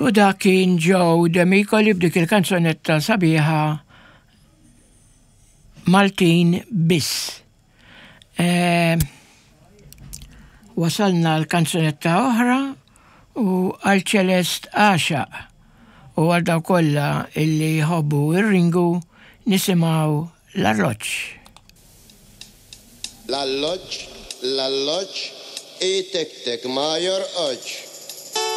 U dak kien Joe Demicoli b'dik il-kanzunetta sabiħa Maltin biss. E, wasalna l-kanzunetta oħra u għal ċelest għaxaq u għal daw kollha illi jħobbu ir-ringu nisimgħu l-arloġġ. L-alloġġ, l-alloġġ, itektek ma jorqodx.